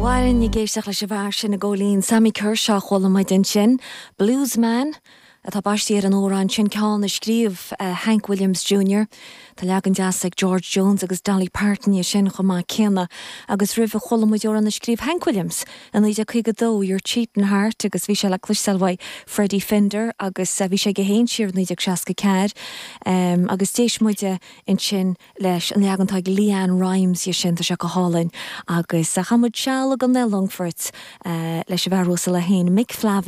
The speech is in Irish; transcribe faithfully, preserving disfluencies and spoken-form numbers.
Bhain ag éisteacht leis an bhfear sin a ggólín Sammy Kershaw chuala muid ansin, Bluesman atá baiste ar an amhrán sin ceann a scríobh uh, Hank Williams Jr. Tá leagan deas ag George Jones agus Dolly Parton dhe sin chomh maith céanna agus roimhe chuala muid amhrán a scríobh Hank Williams an naoi déag caoga dó Your Cheatin' Heart agus bhí sé le cloisteáil uaidh Freddie Fender agus uh, bhí sé go haon siar naoi déag seasca ceathair um, agus d'éist muide ansin leis an leagan atá ag LeAnn Rimes dhe sin tá sé go hálainn agus a chamuid seala go Longfort uh, leis a bheith le haon Mick Flavin.